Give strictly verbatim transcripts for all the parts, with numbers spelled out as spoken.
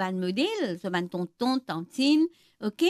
bann model, so bann tonton, tantin, ok?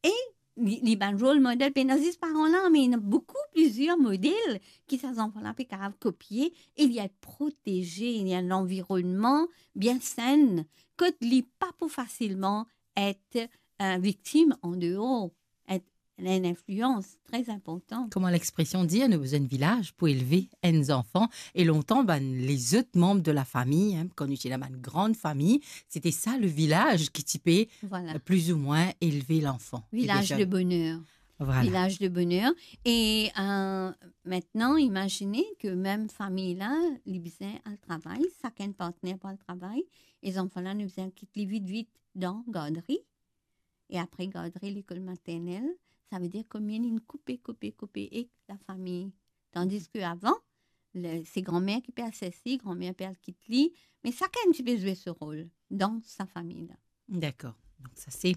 E li, li bann role model, pena zis paran la, me ena boukou, plizier model ki sa zanfan la pe kapav kopie, e li et proteze, li ena enn lanvironnman bien sen, kot li pa pou fasilman et, eh, viktim andeor, et ena enn inflians tre inportan. Kouma lexpresion dir, nou bizin enn vilaz pou elve enn zanfan, e lontan, bann lezot manb de lafami, hein, kan nou ti ena bann gran fami, sete sa levilaz ki ti pe, Vwala. eh, plizoumwin elve lanfan. Vilaz de boner. Vwala. Vilaz de boner. E, eh, aster, imazine ke mem fami la, li bizin al travay, sakenn partner pou al travay, e zanfan la, nou bizin kit li vit, vit dan gardri, e apre gardri, lekol maternel, savedir kouma inn koupe, koupe, koupe ek lafami. Tandis ke avan, le, se granmer ki pe al sers li, granmer pe al kit li, me sakenn ti pe zwe so rol dan sa fami la. Dakor. Donk sa se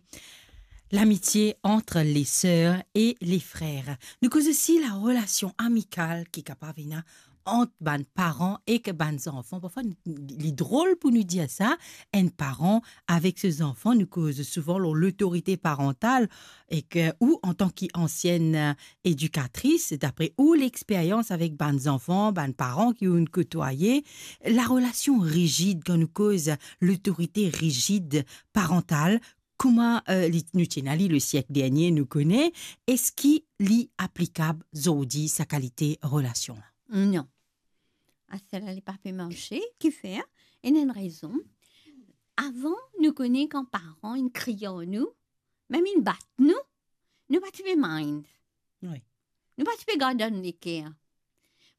lamitie ant leser e lefrer. Nou koz osi larelasion amikal ki kapav ena ant bann paran ek bann zanfan. Parfwa, nou, li drol pou nou dir sa, enn paran avek so zanfan, nou koz souvan lor lotorite parantal ek, ou antan ki ansienn, eh, edikatris, dapre ou lexperyans avek bann zanfan, bann paran ki ou'nn kotwaye, larelasion rizid, kan nou koz lotorite rizid parantal, kouma, eh, li, nou ti ena li le siek dernie, nou kone, eski li aplikab zordi sa kalite relasion la? Non. Aster la li pa pe marse, kifer? Ena enn rezon. Avan, nou kone kan paran inn kriy ar nou, mem inn bat nou, nou pa ti pe mind. Wi. Nou pa ti pe gard dan nou leker.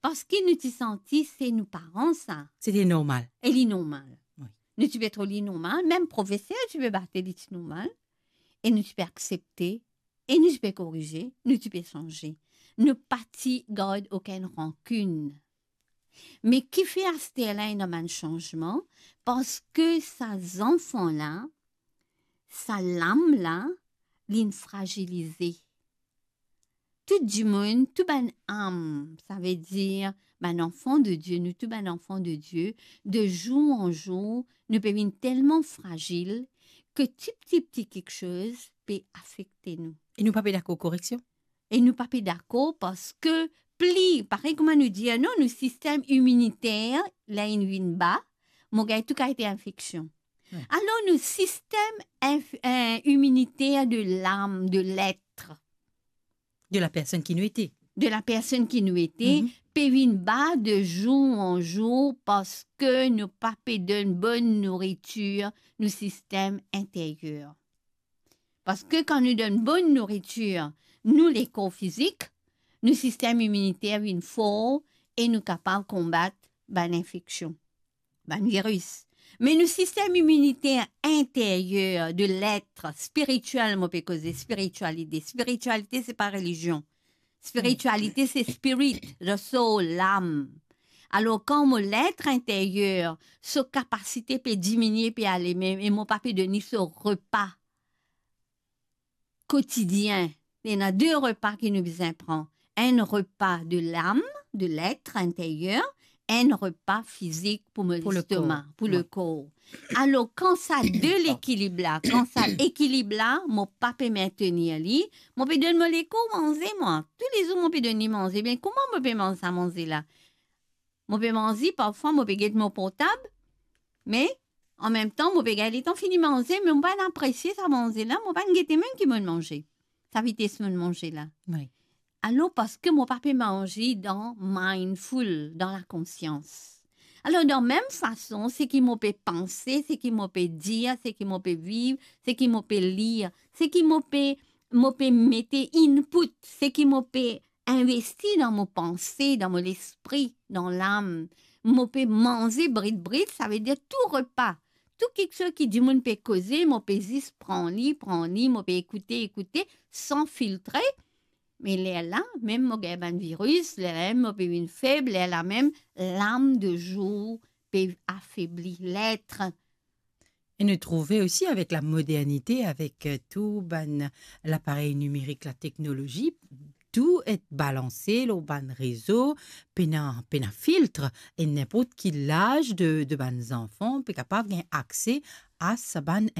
Parski nou ti santi se nou paran sa. Sete normal. E li normal. Wi. Nou ti pe trouv li normal, mem profeser ti pe bat li, li ti normal. E nou ti pe aksepte, e nou ti pe korize, nou ti pe sanze. Nou pa ti gard okenn rankinn. Me kifer aster la ena bann sanzman? Parski sa zanfan la, sa lam la, linn frazilize. Tou dimoun, tou bann am, savedir bann anfan de Die, nou tou bann anfan de Die, de zour an zour, nou pe vinn telman frazil ke ti, ti, ti kiksoz pe afekte nou. E nou pa pe dakor koreksion? E nou pa pe dakor parski pli, parey kouma nou dir, non, nou sistem iminiter, ler inn vinn ba, mo gagn tou kalite infeksion. Wi. Alor, nou sistem inf-, eh, iminiter de lam, de let, De la personn ki nou ete. De la personn ki nou ete, Mhm. pe vinn ba de zour an zour parski nou pa pe donn bonn nouritir nou sistem interyer. Parski kan nou donn bonn nouritir nou lekor fizik, nou sistem iminiter vinn for e nou kapav konbat bann infeksion, bann viris. Me nou sistem iminiter interyer, de let spiritiel, mo pe koze spiritialite. Spiritialite, se pa relizion. Spiritialite, se spirit, the soul, lam. Alor, kan mo let interyer, so kapasite pe diminie, pe ale mem, e mo pa pe donn li so repa kotidien, ena de repa ki nou bizin pran. Enn repa de lam, de let interyer, enn repa fizik pou mo lestoma, pou lekor. Wi. Alor, kan sa de lekilib la, kan sa ekilib la, mo pa pe mentenir li, mo pe donn mo lekor manze, mwa. Toulezour mo pe donn li manze. Me kouma mo pe manz sa manze la? Mo pe manze, parfwa mo pe get mo portab, me anmemtan mo pe gagn letan fini manze, me mo pa'nn apresie sa manze la, mo pa'nn gete mem ki mo'nn manze, sa vites mo'nn manze la. Wi. Alor, parski mo pa pe manze dan mindful, dan lakonsians. Alor, dan mem fason, seki mo pe panse, seki mo pe dir, seki mo pe viv, seki mo pe lir, seki mo pe, mo pe mete input, seki mo pe investi dan mo panse, dan mo lespri, dan lam. Mo pe manze brit brit, savedir tou repa, tou kiksoz ki dimoun pe koze, mo pe zis pran li, pran li, mo pe ekoute, ekoute, san filtre. Me lerla mem mo gagn bann viris, lerla mem mo pe vinn feb, lerla mem lam de zour pe afebli, let. E nou trouve osi avek lamodernite, avek, eh, tou bann laparey nimerik, lateknolozi, tou et balanse lor bann rezo, pena, pena filtre, e ninport ki laz de, de bann zanfan pe kapav gagn akse a sa bann